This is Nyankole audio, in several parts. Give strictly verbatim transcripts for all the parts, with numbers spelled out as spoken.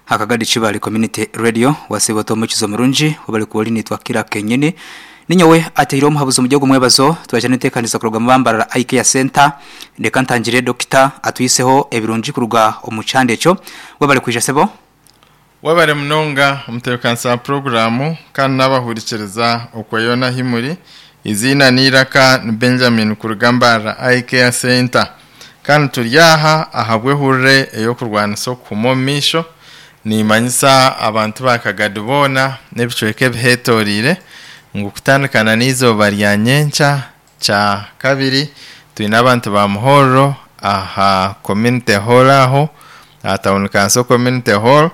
Hakagadi Kibale Community Radio wasiba omukizo murungi wabali kuwali nitwa kira kenyini ninyowe ateire omuhabuzi omu gihugu mwebazo twaje n'enteekaniza kuruga mu Bambarara Eye Care Center. Ndeka ntangire dokita atwiseho ebirungi kuruga omu kyanda ekyo. Wabali kwija sebo. Wabare munonga omutebekanisa wa puroguramu kandi n'abahurikiriza okweyona himuri. Izina n'iraka ni Benjamin kuruga Mbarara Eye Care Center, kandi turi aha ahabw'ehurire ey'okurwanisa okuhuma omu maisho. Nimanyisa abantu ba Kagadi boona n'ebicweka ebihetorire ngu kutandikana n'eizooba rya nyenkya kya kabiri twine abantu ba Muhorro aha community hall, aho aha town council community hall.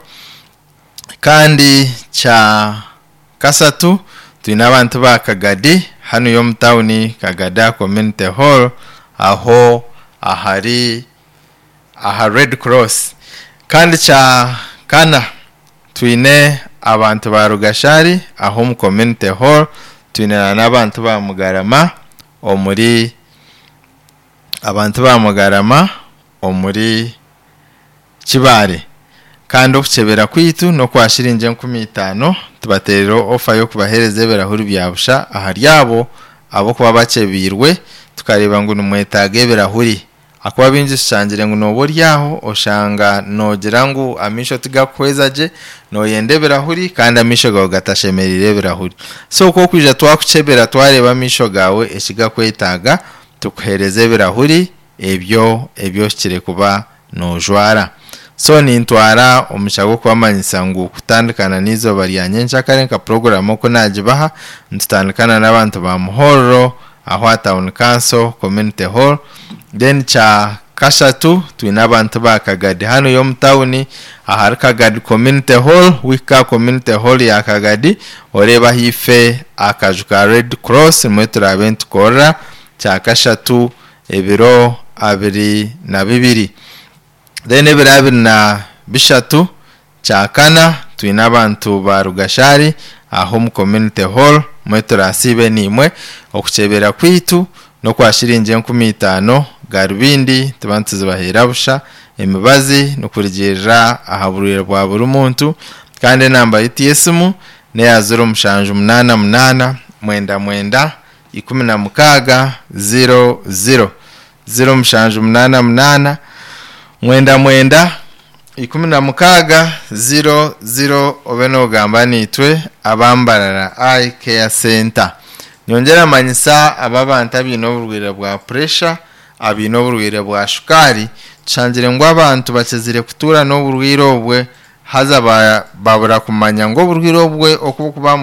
Kandi kya kasatu twine abantu ba Kagadi hanu y'omu tawuni Kagada community hall, aho ahari aha Red Cross. Kandi kya kana twine abantu ba Rugashari aho omu community hall. Twine n'abantu ba Mugarama omuri abantu ba Mugarama omuri Kibare. Kandi okukyebera kwitu n'okwa shiringi enkumi itaano, tubateerera ofa y'okubaheereza ebirahuri bya busha ahari abo abokuba bakyebiirwe tukareeba ngu nimwetaaga ebirahuri. Akuba bingi tushangire ngu nooba ori aho oshanga noogira ngu amaisho tigakuhweza gye, nooyenda ebirahuri kandi amaisho gaawe gatashemereire ebirahuri. So okwo okwija twakukyebera twareeba amaisho gaawe ekigakwetaaga, tukuheereza ebirahuri ebyo ebyohikire kuba noojwara. So nintwara omugisha gw'okubamanyisa ngu kutandikana n'eizooba rya nyencakare nka puroguramu oku naagibaha, nitutandikana n'abantu ba Muhorro aho aha town council community hall. Then kya kashatu twine abantu ba Kagadi hanu y'omu tawuni ahari Kagadi community hall. Wika community hall ya Kagadi, oreeba ahaifo akaju ka Red Cross, nimwe turaabe nitukorera kya kashatu ebiro abiri na bibiri. Then ebiro abiri na bishatu kya kana twine abantu ba Rugashari aho omu community hall, mwe turasiibe niimwe. Okukyebera kwitu n'okwa shiringi enkumi itaano. Garubindi tuba nituzibaheera busha, emibazi nikurugiirira aha burwaire bwa buri muntu. Kandi enamba yitu y'esimu neya ziro mushanju munaana munaana mwenda mwenda ikumi na mukaaga ziro ziro, ziro mushanju munaana munaana mwenda mwenda ikumi na mukaaga ziro ziro, obe noogamba niitwe Abambarara Eye Care Center. Nyongyera manyisa aba abantu abaine oburwaire bwa pressure, abaine oburwaire bwa shukaari. Tushangire ngu abantu bakizire kutuura n'oburwaire obwe, haza ba- babura kumanya ngu oburwaire obwe oku bukuba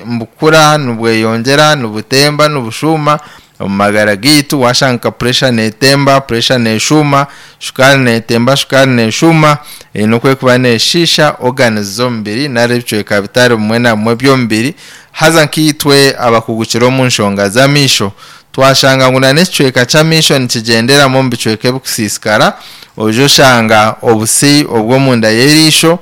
nibukura, nibweyongyera, nibutemba, nibushuuma omu magara gaitu. Washanga nka pressure netemba, pressure neshuuma, shukaari netemba, shukaari neshuuma, eine okwekuba neshiisha organs z'omubiri nari ebicweka bitari bimwe na bimwe by'omubiri. Haza nkaitwe abakugukire omu nshonga z'amaisho twashanga ngu n'ekicweka ky'amaisho nikigyenderamu omu bicweka ebikusiisikara. Oija oshanga obusi obw'omunda y'eriisho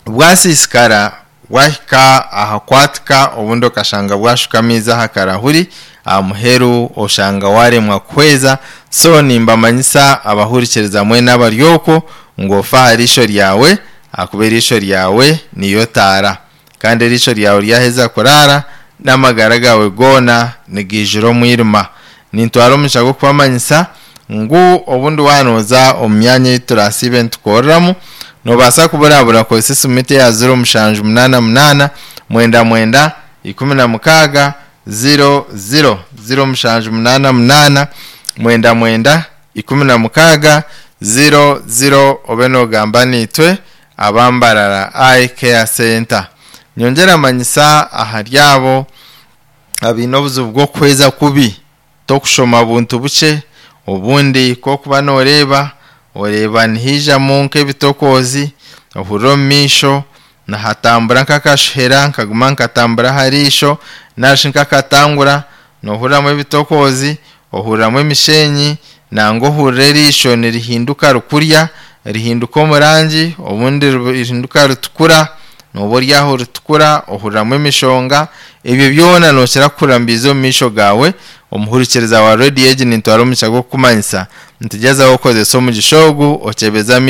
bwasiisikara, bwahika aha kwatika, obundi okashanga bwashuka amaizi aha karahuri, aha muheru oshanga waremwa kuhweza. So nimbamanyisa abahurikiriza mwena abari okwo ngu ofe aha riisho ryawe, ahakuba eriisho ryawe niyo taara, kandi eriisho ryawe ryaheza kuraara n'amagara gawe goona nigaijura omwirima. Nintwara omugisha gw'okubamanyisa ngu obundi waanooza omu myanya ei turasiibe nitukoreramu, noobaasa kuburabura kozesa esimu yitu eya ziro mushanju munaana munaana mwenda mwenda ikumi na mukaaga ziro ziro, ziro mushanju munaana munaana mwenda mwenda ikumi na mukaaga ziro ziro, obe noogamba niitwe Abambarara Eye Care Center. Nyongyera manyisa ahari abo abaine obuzibu bw'okuhweza kubi, tokushoma buntu bukye, obundi kokuba nooreeba oreeba nihaijamu nk'ebitokoozi, ohurira omu maisho nihatambura nk'akashuhera, nkaguma nkatambura aha riisho narishi nk'akatangura, noohuriramu ebitokoozi, ohuriramu emishenyi, nangwa ohurira eriisho nirihinduka rikurya, rihinduka omu rangi, obundi rihinduka ritukura, nooba ori aho ritukura, ohuriramu emishonga. Ebyo byona nookira kuhurira nibiiza omu maisho gaawe. Omuhurikiriza wa rediyo egi, nintwara omugisha gw'okukumanyisa nti gyezaho okozesa omugisha ogu okyebeze amaisho.